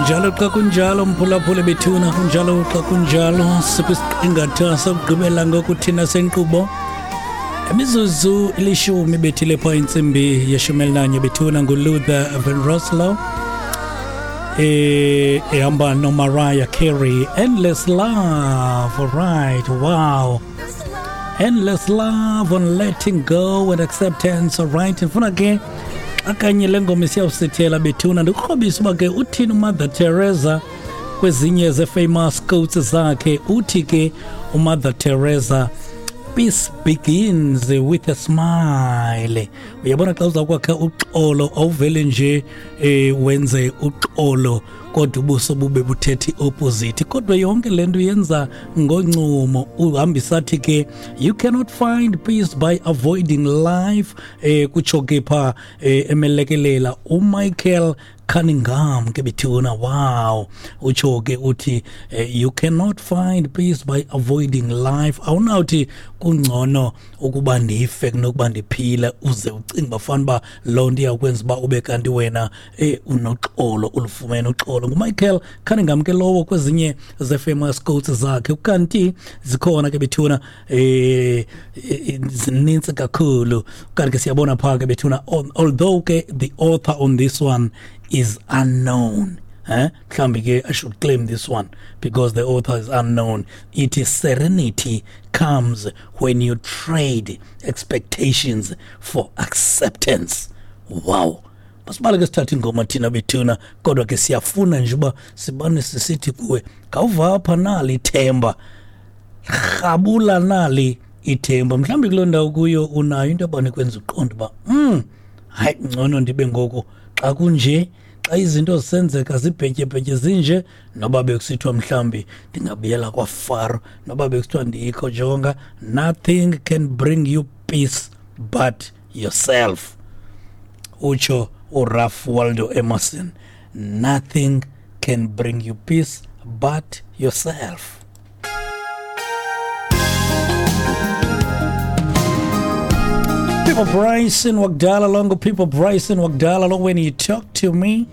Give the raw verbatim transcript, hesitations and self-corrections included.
Kunjalo xa kunjalo, mphulaphuli bethuna, kunjalo xa kunjalo. Sikwisiqingatha sokugqibela ngoku thina senkqubo. Imizuzu ilishumi bethile phaa intsimbi yeshumi elinanye bethuna. NguLuther Vandross eh ehamba noMariah Carey, "Endless Love". All right, wow, "Endless Love" on letting go and acceptance. All right, ndifuna ke xa kanye le ngoma isiyawusithela bethuna, ndikukrobisa uba ke uthini uMother Teresa kwezinye ze-famous quotes zakhe. Uthi ke uMother Teresa, "Peace begins with a smile." Uyabona, xa uza kwakha uxolo, awuvele nje eh wenze uxolo kodwa ubuso bube buthethe opposite, kodwa yonke le nto yenza ngoncumo. Uhambisa athi ke, "You cannot find peace by avoiding life." eh kutsho ke pha eh, emelekelela uMichael Cunningham ke bethuna. Wow, utsho ke uthi eh, "You cannot find peace by avoiding life." Awunawuthi kungcono ukuba ndife kunokuba ndiphile, uze ucinge uba fana uba loo nto iyawukwenza uba ube kanti wena eh unoxolo, ulufumene uxolo. NguMichael Cunningham ke lowo kwezinye ze-famous quotes zakhe. Kanti zikhona ke bethuna, eh zininzi kakhulu. Kanti ke siyabona phaa ke bethuna, although ke the author on this one is unknown, eh mhlambi ke I should claim this one because the author is unknown. It is, "Serenity comes when you trade expectations for acceptance." Wow, masibale ke sithatha ingoma thina bethuna, kodwa ke siyafuna nje uba sibane sisithi kuwe, khawuva apha, nali ithemba, rhabula nali ithemba. Mhlawumbi kuloo ndawo kuyo unayo into abane kwenza uqonda uba mm hayi, ngcono ndibe ngoku xa kunje, xa izinto zisenzeka zibhetyebhetye zinje, noba bekusithiwa mhlawumbi ndingabuyela kwaFaro, noba bekusithiwa ndikho, jonga, nothing can bring you peace but yourself. Utsho uRalph Waldo Emerson, "Nothing can bring you peace but yourself." People Bryson wakudala longo, People Bryson wakudala lo, "When You Talk to Me".